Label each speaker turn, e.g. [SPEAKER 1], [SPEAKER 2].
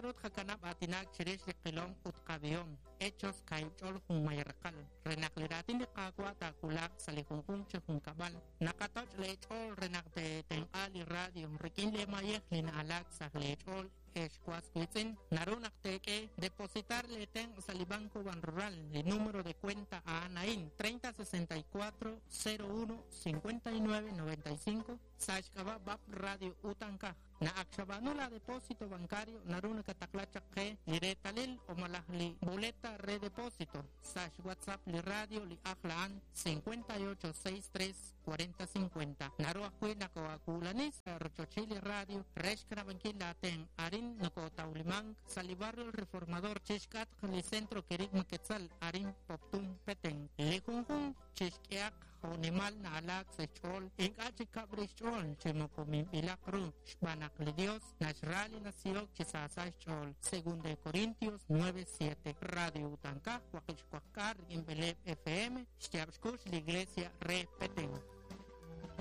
[SPEAKER 1] naru tqakanab' aatinak chirix li qilom ut qab'ihom. Hechos kaahib' ch'ol junmay raqal. Re naq li raatin li Qaawa' taawulaq sa' li junjunq chi junkab'al, naqatoch' leech'ool re naq teetenq'a li radio rik'in leemayej li na'alaak sa' leech'ool ex was wiitz'in. Naru naq teek'e depositar leetenq' sa' li Banco Banrural. Li número de cuenta a'an a'in 3064 01 59 95 sa' xk'ab'a' BAP Radio Utankaj. Naq ak xab'aanu la depósito bancario naru nakataqla chaq qe li reetalil o malaj li boleta re depósito sa' xWhatsApp li radio li ajl a'an 58 63 40 50. Naru ajwi' nakoo'akuulani sa' rochochil li radio re xkanab'ankil laatenq'. Arin nokootawlimank sa' li barrio El Reformador chixk'atq li Centro Kerigma Quetzal arin Poptún, Petén. Li junjunq chixk'ehaq jo'nimal na'alaak sa' xch'ool, ink'a' chi kab' rix xch'ool chi moko minb'ilaq ru, xb'aan naq li Dios naxra li nasihok chi saasa xch'ool. Segunda de Corintios 9:7. Radio Utankaj, waqib' xwaqk'aal rik'in b'eleeb' FM, xyaab' xkux li Iglesia re Petén.